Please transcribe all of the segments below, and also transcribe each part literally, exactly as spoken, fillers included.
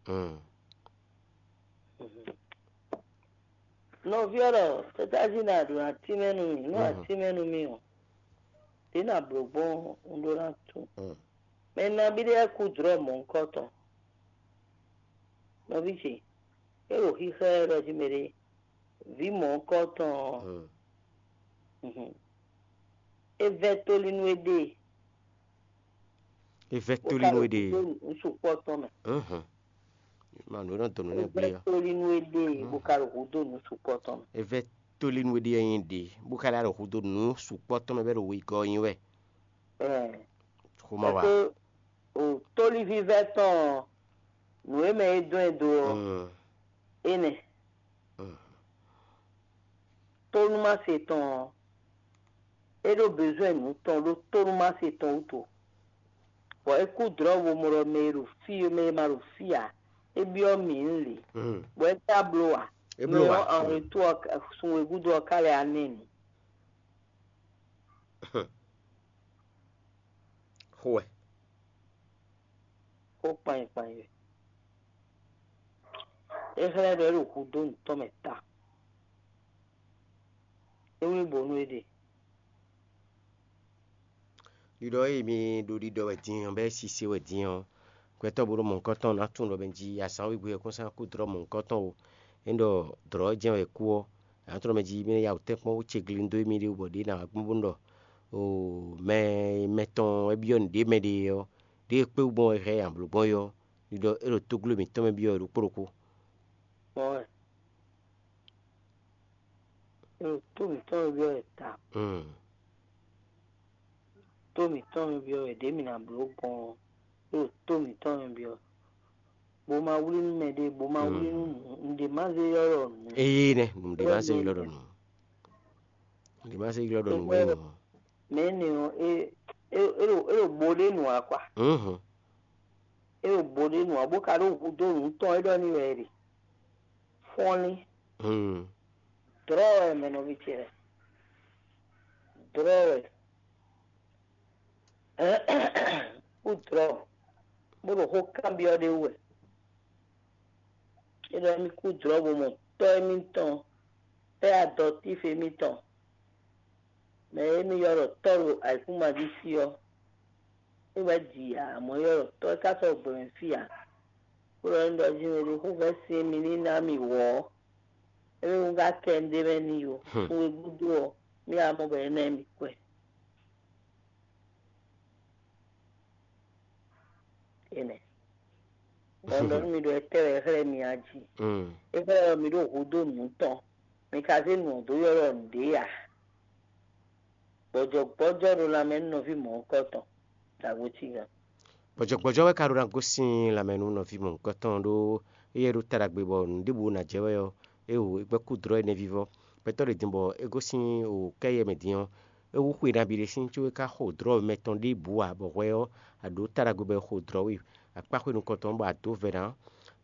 Mm. Nɔví ɔ́ ɖɔ tɛ́tájí ná ɖo atínmɛ nú mì, nú atínmɛ nú mì ɔ́, ɖě ná blǒ gbɔn un ɖó ná tunwun. Mm. Mɛ nabí ɖé wɛ kú dlɔ̌ mɔ̌hunkɔtɔn. Nɔví ce, é ɖo xíxlɛ́ ɖɔ jí mɛ ɖé, vǐ mɔ̌hunkɔtɔn ɔ́, Mm. Mhm. É vɛ́ tóli nú éɖée. É vɛ́ bó tóli ka nú ɖo éɖée. Kúdó nǔ sukpɔ́ tɔn mɛ. Mhm. Ma nǔ e nɔ dɔn nǔ É nɛ́ vɛ́ gbé ɔ́. Tóli nú éɖée, bó ka ɖo húdó nǔ sukpɔ́ tɔn mɛ. É vɛ́ tóli nú éɖée nyí ɖě, bó ka lɛ́ ɖo húdó nǔ sukpɔ́ tɔn mɛ bɔ é ɖo wegɔ́ ɔ́ nyi wɛ. Ɛɛ, Xomɔ wa. Pɛ́ o tóliví vɛ́ tɔn ɔ́, nǔ e mɛ é dɔn ɛ dó ɔ́, Mm. énɛ́. Mm. Tónúmase tɔn ɔ́, é ɖó bezwɛ́n nǔ tɔn ɖó tónúmase tɔn wútu. Bɔ é kú dlɔ̌ bo mɔ ɖɔ mɛ e ɖo fí mɛ e ma ɖo fí ǎ, é byɔ́ mǐ nú lě, Mm. bɔ é ka bló ǎ. É Mɛ bló ɔ́ ǎ. Anwetú ɔ́ ka- sun e gúdo ɔ́ ka lɛ́ ná ɛ nu. Xo wɛ. Xó kpanyikpanyi wɛ. É xlɛ́ ɖɔ é ɖo hudó nǔtɔn mɛ ta. É wlí bo nú éɖée. Ɖiɖɔ e mi ɖo ɖiɖɔ wɛ din ɔ́, bɔ é sise wɛ din ɔ́, gbɛtɔ́ bo ɖo mɔ̌hunkɔtɔn ná tunwun ɖɔ mɛ jí azǎn wegbe ɔ́ kún sán kú dlɔ́ mɔ̌hunkɔtɔn o. Ényí ɖɔ dlɔ̌ jɛ́n wɛ è kú ɔ́, nǎ tunwun ɖɔ mɛ jí mi ná ya wǔ tɛ́nkpɔ́n wú ce glin dó émí ɖé wú bɔ ɖě ná wá gbɔn bónú ɖɔ o mɛ mɛtɔn wɛ byɔ́ nǔɖé mɛ ɖe ɔ́, ɖěe kpé wú gbɔn wɛ hɛn amblǒ gbɔn é ɔ́, ɖiɖɔ é ɖo tógló mǐtɔn mɛ byɔ́ wɛ ɖokpó ɖokpó. Mɔ̌ wɛ. É ɖo tó mǐtɔn mɛ byɔ́ wɛ ta. Mm. Tó mǐtɔn mɛ byɔ́ wɛ ɖě mǐ ná bló gbɔn ɔ́, é ɖo tó mǐtɔn mɛ byɔ́. Bó ma wlí nú mɛ ɖé, bó ma wlí nú nǔ, un ɖě má zé ylɔ́ ɖɔ nǔ. Eye nɛ, un ɖě má zé ylɔ́ ɖɔ nǔ. Un ɖě má zé ylɔ́ ɖɔ nǔ wɛ nyí mɔ̌. Mɛ énɛ́ ɔ́, é é é ɖo é ɖo bo ɖé nǔ ǎ kwa. Mhm. É ɖo bo ɖé nǔ ǎ, bó ka ɖó hudó nǔ tɔn é ɖɔ n'i wɛ é ɖe. Fɔ́nlín. Hmm. Dlɔ̌ wɛ mɛ nɔví ce lɛ́ɛ. Dlɔ̌ wɛ. Kú dlɔ̌, bó ɖo xó kanbyɔ́ ɖé wú wɛ. É ɖɔ émí kú dlɔ̌ bo mɔ tɔ́ émítɔn, tɔ́ e adɔtífe émítɔn, mɛ e émí ylɔ́ ɖɔ tɔ́ ɖo ayǐkúngban jí fí ɔ́, é wɛ ji ǎ, amɔ̌ é ylɔ́ ɖɔ tɔ́ é ka sɔ́ gbɛ mɛ fí ǎ. Bó ɖɔ émí ɖɔ jí mɛ ɖé xó vɛ́ sin émí ní ná mì wɔ̌ ɔ́, émí wú ka kɛ un ɖ'é mɛ n'i ó. Hmm. Sun e gúdo ɔ́, mì wá mɔ bɔ é ná mì kwɛ. Énɛ́. Bɔ un ɖɔ nú mi ɖɔ étɛ́ wɛ é xlɛ́ mi a jí? Mm. É xlɛ́ ɖɔ mi ɖo hudó nǔ tɔn, mi ka zé nǔ ɔ́ dó ylɔ́ nǔɖé ǎ. Gbɔjɔgbɔjɔ ɖo lanmɛ nú nɔví mɔ̌hunkɔtɔn ɖo agbo cí gán. Gbɔjɔgbɔjɔ wɛ ka ɖó ná gosín lanmɛ nú nɔví mɔ̌hunkɔtɔn ɖó éyɛ́ ɖó ta ɖagbe bɔ nǔ ɖěbǔ ná jɛ wɛ ɔ́, é hu é gbɛ́ kú dlɔ́ énɛ́ vívɔ́. Gbɛtɔ́ ɖě din bɔ é gosín o kɛ́yɛ mɛ din ɔ́, é hú xwe nabí ɖé sín có é ka xo dlɔ́ mɛtɔn ɖěbǔ ǎ, bɔ hwɛ ɔ́, a ɖǒ ta ɖagbe bɔ è xo dlɔ̌ we akpá xwe nukɔntɔn bɔ a dǒ vɛ̌ ná.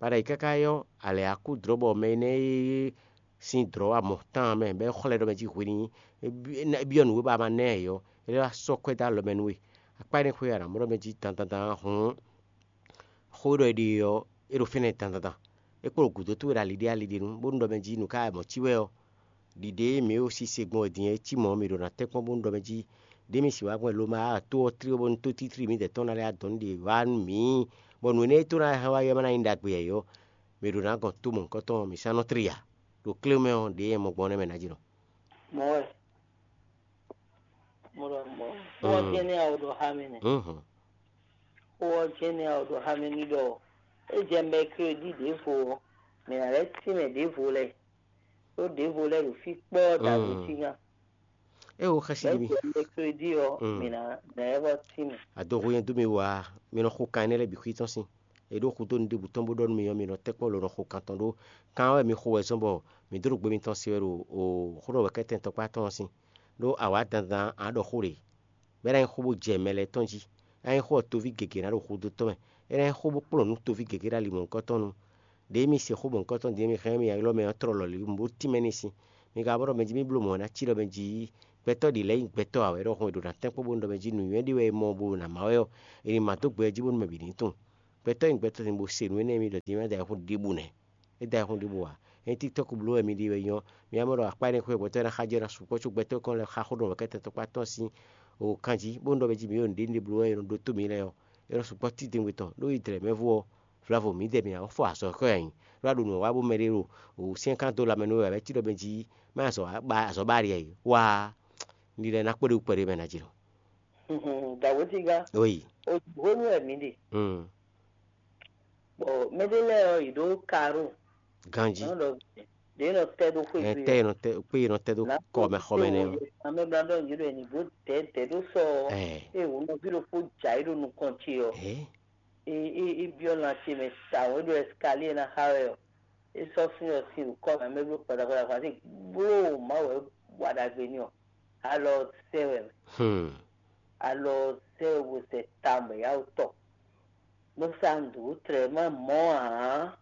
Bɔ a ɖo ayǐ káká ɔ́, a lɛ̌ wá kú dlɔ̌ bɔ mɛ énɛ́ e sín dlɔ̌ wa mɔ tán ɔ́ mɛ, bɔ é xlɛ́ ɖɔ mɛ jí hwe n'i, é byɔ́ nǔ e ba ma ná ɛ ɔ́, é wá sɔ́ kwɛ́ dó alɔ mɛ nú we. Akpá énɛ́ xwe a nǎ mɔ ɖɔ mɛ jí dandandan hǔn, xó e ɖɔ è ɖe ɔ́, é ɖo fínɛ́ dandandan. É kpo ɖo gǔdo towe ɖo ali ɖé ali ɖé nu, bónú ɖɔ mɛ jí nǔ ka wɛ mɔ̌ cí wɛ ɔ́, ɖiɖe e mǐ ɖo sise gbɔn wɛ din é cí mɔ̌, mǐ ɖo ná tɛ́nkpɔ́n bónú ɖɔ mɛ jí ɖěe mǐ sixú wá gbɔn è lo ma to ɔ́ tlí bónú tótítlí mǐdɛɛ tɔn ná lɛ́ wá dɔn nú ɖě wá nú mǐ, bɔ nǔ énɛ́ e tó ná hɛn wá ɔ́ ma ná nyí ɖagbe ǎ é ɔ́, mǐ ɖo ná gɔn tó mɔ̌hunkɔtɔn ɔ́, mǐ sán nɔ tlí ǎ. Ɖo klé mɛ ɔ́, ɖě e mɔ gbɔn ɔ́ nɛ́ mɛ ná jínɔ. Mɔ̌ wɛ. Mo ɖɔ mɔ̌. Xó ɔ́ jɛ́n nɛ́ a ɖo xá mɛ nɛ́. Mhm. Xó ɔ́ jɛ́n nɛ́ a ɖo xá mɛ ní ɖɔ é jɛ mɛkrédi ɖěvo ɔ́, mǐ ná lɛ́ tínmɛ ɖěvo lɛ́ɛ, ɖó ɖěvo lɛ́ɛ ɖo fí kpɔ́ɔ́ ɖo agbo cí gán. É wo xɛsi Lɛ́ jí mi. Jɛ mɛkrédi ɔ́, mǐ ná ná ɛ vɔ tínmɛ. Adoxo nyɛ dó mi wá, mi nɔ xo kan énɛ́ lɛ́ɛ bǐ xwí tɔn sín. È ɖó xudó nǔɖébǔ tɔn bó ɖɔ nú mi ɔ́, mi nɔ tɛ́nkpɔ́n lo nɔ xo kan tɔn ɖó. Kan ɔ́ wɛ mi xo wɛ zɔ́n bɔ mǐ dó ɖo gbe mitɔn se wɛ ɖo xó ɖɔ wɛ kɛ́tɛn tɔkpá tɔn ɔ́ sín. Ɖó awǎ dandan ǎ ɖɔ xó ɖě. Bɔ é ná nyí xó bó jɛ mɛ lɛ́ɛ tɔn jí. É ná nyí xó ɔ́ toví gěgé ná ɖo xudó tɔn mɛ. É ná nyí xó bó kplɔ́n nǔ toví gěgé ɖo ali mɔ̌hunkɔtɔn nu. Ɖě mi se xó mɔ̌hunkɔtɔn din mi hɛn mì ylɔ́ mɛ ɔ́ tlɔ́ lɔ̌lǐ bó tínmɛ n'i sín. Mi ka bó ɖɔ mɛ jí mì bló mɔ̌ ná cí ɖɔ mɛ jí gbɛtɔ́ ɖě lɛ́ɛ nyí gbɛtɔ́ ǎ wɛ ɖɔhun è ɖo ná tɛ́nkpɔ́n bónú ɖɔ mɛ jí nǔnywɛ́ ɖé wɛ è mɔ bó ná má wɛ ɔ́, è nǐ má dó gbɛ jí bónú mɛ bǐ ní tunwun. Gbɛtɔ́ nyi gbɛtɔ́ din bó se nǔ énɛ́ e mi ɖɔ din é má da ayihún ɖěbǔ nɛ́. É da ayihún ɖěbǔ ǎ. Ényí TikTɔ́k bló wɛ mi ɖe wɛ nyɔ́, mi wá mɔ ɖɔ akpá énɛ́ xwé gbɛtɔ́ ná xá jɛ ná sukpɔ́ có gbɛtɔ́ kɔn lɛ́ xá xó ɖɔ kɛ́tɛn tɔn kpá tɔn sín o kan jí, bó nɔ ɖɔ mɛ jí mǐ ɖo nǔɖé nǔɖé bló wɛ è nɔ ɖótó mǐ lɛ́ɛ ɔ́, é nɔ sukpɔ́ títɛngbɛ tɔn ɖó yi dlɛ̌ mɛ vú ɔ́, vlavo mǐdɛɛ mǐ ná fɔ azɔ̌ kɔ́ nyi, ɖó a ɖo nǔ wa bó mɛ ɖé ɖo wǔ syɛ́n kan dó lanmɛ nú we wɛ cí ɖɔ mɛ jí má azɔ̌ ba azɔ̌ ba ɖi ɛ wá ní lɛ́ ná kpé ɖo kpɛɖé mɛ ná jí lɔ. Dǎwétígá, Oyi. Hwenu wɛ mǐ ɖe. Mm. Bɔ mɛɖé lɛ́ɛ ɔ́, yě ɖó Karo. Ganjí. Nɔ ɖɔ ɖě nɔ tɛ ɖó xwé Ɛ gbe tɛ ɔ́. Nɔ tɛ kpé nɔ tɛ ɖó Nǎ kɔ mɛ xɔ mɛ nɛ ɔ́. Amɛ bla ɖɔ yě ɖɔ ni bó dɛ dɛ ɖó sɔ ɔ́. Ɛ. Eye wò nɔví ɖokpó dza yí ɖo nukɔn ce ɔ́. Ɛ. E e e byɔ́ lan ce mɛ tawun e ɖo ɛsikaliɛ ná xa wɛ ɔ́. E sɔ́ sín ɔ́ sín wǔkɔ mɛ mɛ bló kpatakpata kpa sí bló Mawu wɛ wa ɖagbe ní ɔ́. Alɔ sɛ wɛ mɛ. Hmm. Alɔ sɛ wɛ bo sɛ tawun bɛ yá wò tɔ. Nú sá un ɖǒ tlɛ má mɔ ǎ.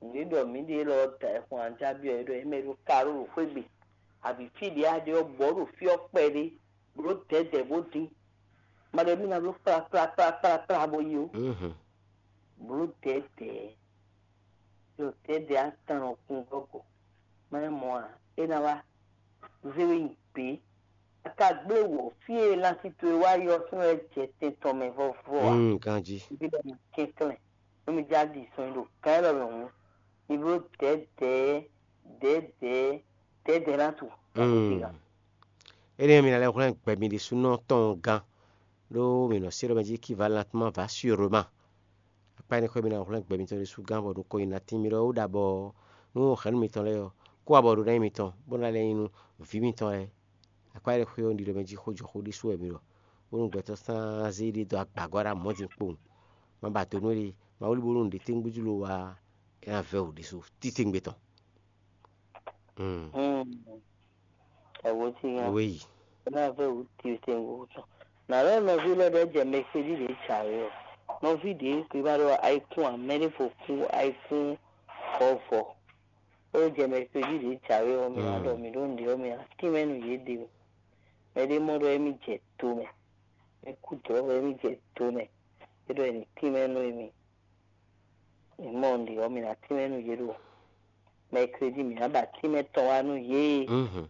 Nǔ e ɖɔ mǐ ɖe élɔ́ da ɛ xɔn anjá byɔ́ é ɖɔ é mɛ ɖo Karo ɖo xwé gbe. Abǐ fí ɖě a ɖe ɔ́ bɔ ɖo fí ɔ́ kpɛɖé, bló dɛ̌dɛ̌ bó dín. Ma ɖɔ émí ná bló kplá kplá kplá kplá kplá bó yi ó. Mhm. Bló dɛ̌dɛ̌. Ɖo dɛ̌dɛ̌ atán ɔ́ kún gɔ́gɔ́. Má é mɔ ǎ, é ná wá. Zé we nyi gbě. A ka gblé wǒ fí e lanti towe wá yi ɔ́ súnnu wɛ jɛ tɛn tɔn mɛ vɔvɔ ǎ. Mm, ganjí. Bí lɛ nɔ kɛnklɛ́n. Nú mi já ɖi sɔn nyi ɖo gǎn élɔ́ mɛ hǔn, mi bló dɛ̌dɛ̌ dɛ̌dɛ̌ dɛ̌dɛ̌ ná tu. Mm. Énɛ́ ɔ́, mi ná lɛ́ hwlɛ́n gbɛ mi ɖésúnɔ tɔn gán, ɖó mi nɔ sí ɖɔ mɛ jí équivalent va sûrement. Akpá énɛ́ xwé mi ná hwlɛ́n gbɛ mitɔn ɖésú gán bɔ nukɔn nyi ná tín mi ɖɔ ó ɖa bɔ nú hɛ̌nnu mitɔn lɛ́ɛ ɔ́, kó abɔ ɖó ná nyí mitɔn, bó ná lɛ́ nyí nú vǐ mitɔn lɛ́ɛ. Akpá énɛ́ xwé ɔ́, un ɖi ɖɔ mɛ jí xó jɔ xó ɖésú wɛ mi ɖɔ, bónú gbɛtɔ́ sán zé ɖé dó agba gɔ́ ɖo amɔ̌ din kpowun. Má ba do nú éɖée, ma wlí bónú nǔɖé tɛ́ngbɛ́ jí lo wá é ná vɛ́ wǔ ɖésú títɛ́ngbé tɔn. Mm. Ẹ̀wò tí yan. Oui. É ná vɛ́ wǔ títɛ́ngbé tɔn. Nǎ lɛ́ nɔví lɛ́ɛ ɖɛ́ jɛ mɛxwéɖí ɖě jǎwe ɔ́. Nɔví ɖě kwe má ɖɔ ayikún ǎ, mɛ ɖěvo kún ayikún vɔvɔ. É jɛ mɛxwéɖí ɖě jǎwe ɔ́, mi ná ɖɔ mǐ ɖó nǔɖé ɔ́, mi ná tínmɛ nú yě ɖe o. Mɛɖé mɔ ɖɔ émí jɛ do mɛ. Mɛ kú dɔ̌ wɛ émí jɛ do mɛ. É ɖɔ è nǐ tínmɛ nú émí. Mǐ mɔ nǔɖé ɔ́, mǐ ná tínmɛ nú yě ɖo mɛkrédi, mǐ ná ba tínmɛ tɔn wá nú yě. Mhm.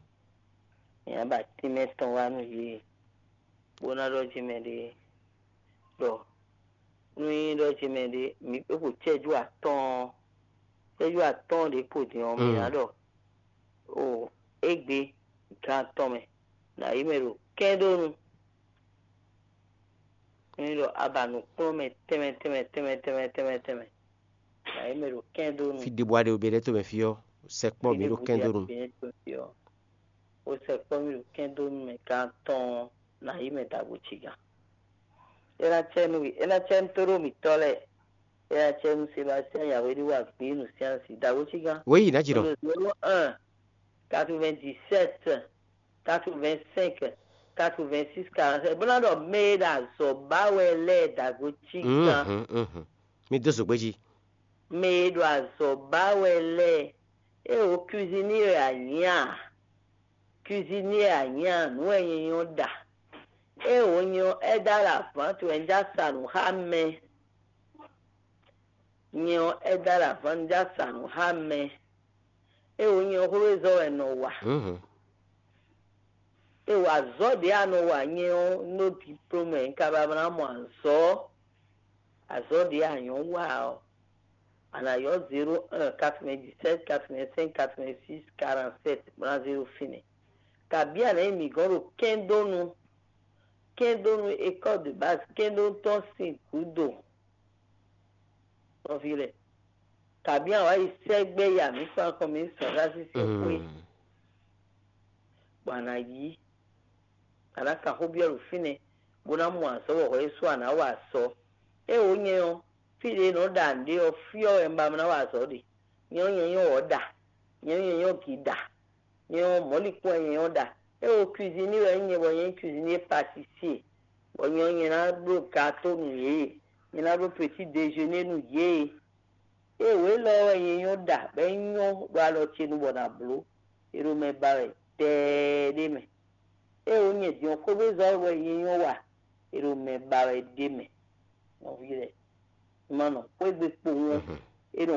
Mǐ ná ba tínmɛ tɔn wá nú yě. Bó ná ɖɔ jí mɛ ɖé ɖɔ nú nyí ɖɔ jí mɛ ɖé mǐ é xo cɛ́jú atɔ́ɔ́n, cɛ́jú atɔ́ɔ́n ɖě kpo din ɔ́, mǐ ná ɖɔ o égbé gan tɔn mɛ nǎ yi mɛ ɖo kɛ́ɖónu. Nyí ɖɔ a ba nǔkplɔ́nmɛ tɛnmɛ tɛnmɛ tɛnmɛ tɛnmɛ tɛnmɛ tɛnmɛ. Nǎ yi mɛ ɖo kɛ́n dó nu. Fí ɖěbǔ aɖe bɛ ɖɛ́ to mɛ fí ɔ́, sɛkpɔ́ mǐ ɖo kɛ́n dó nu. Ó sɛkpɔ́ mì ɖo kɛ́n dó nu mɛ gan tɔn nǎ yi mɛ dǎgbó cí gán. É ná cɛ nú é ná cɛ nú tóɖó mǐtɔn lɛ́ɛ. É ná cɛ nú Sebastien Yahweh ɖé wa gbě nu siansi dǎgbó cí gán. Wěyi ná jì nɔ. Zéro un, quatre-vingt-dix-sept, quatre-vingt-cinq, quatre-vingt-six, quarante-sept. Bó ná ɖɔ mɛ e ɖo azɔ̌ ba wɛ lɛ́ɛ dǎgbó cí gán. Mhm, mhm. Mi dó zǒgbé jí. Mɛ e ɖo azɔ̌ ba wɛ lɛ́ɛ, é wǒ cuisinier wɛ a nyǐ a? Cuisinier a nyǐ a? Nǔ wɛ nyɛ nyɔ́ ɖa. É wǒ nyɛ ɔ́, aide à la vente wɛ un já sa nǔ xá mɛ. Nyɛ ɔ́, aide à la vente un já sa nǔ xá mɛ. É wǒ nyɛ ɔ́, xwézɔ́ wɛ un nɔ wa. Mhm. É wǒ azɔ̌ ɖě a nɔ wa nyɛ ɔ́, un ɖó diplôme wɛ un ka ba ná mɔ azɔ̌. Azɔ̌ ɖě a nyɔ̌ wa ɔ́, a nǎ ylɔ́ zéro un, quatre-vingt-dix-sept, quatre-vingt-cinq, quatre-vingt-six, quarante-sept, bó ná zéro fínɛ́. Kabǐ a nǎ nyi mǐ gɔ́n ɖo kɛ́ndónu, kɛ́ndónu école de base, kɛ́ndónu tɔn sín gǔdo. Nɔví lɛ́ɛ, kabǐ a wǎ yi sɛ́gbɛ́ ya mǐ kpán kɔn mǐ sɔn xá sísí xwé, bɔ a nǎ yí, a nǎ kan xó byɔ́ ɖo fínɛ́, bó ná mɔ azɔ̌ bɔ hwɛ é sú a nǎ wa azɔ̌. É wǒ nyɛ ɔ́, fí ɖě nɔ ɖa nǔɖé ɔ́, fí ɔ́ wɛ un ba ná wa azɔ̌ ɖe. Nyɛ ɔ́, nyɛ nyɔ́ wɔ̌ ɖa, nyɛ ɔ́, nyɛ nyɔ́ gǐ ɖa, nyɛ ɔ́, mɔ̌likún wɛ nyɛ nyɔ́ ɖa. É wǒ cuisinier wɛ nyí nyɛ bɔ nyɛ nyí cuisinier pâtissier, bɔ nyɛ ɔ́, nyɛ ná bló gâteau nú yě, nyɛ ná bló petit déjeuner nú yě. É wǒ élɔ́ wɛ nyɛ nyɔ́ ɖa bɔ é nyɔ́ ɖo alɔ ce nu bɔ nǎ bló, è ɖo mɛ ba wɛ tɛɛɖé mɛ. É wǒ nyɛ din ɔ́ xóbézɔ́ wɛ nyɛ nyɔ́ wa, è ɖo mɛ ba wɛ ɖ'é mɛ. Nɔví lɛ́ɛ, ma nɔ xwé gbe kpowun ɔ́, é nɔ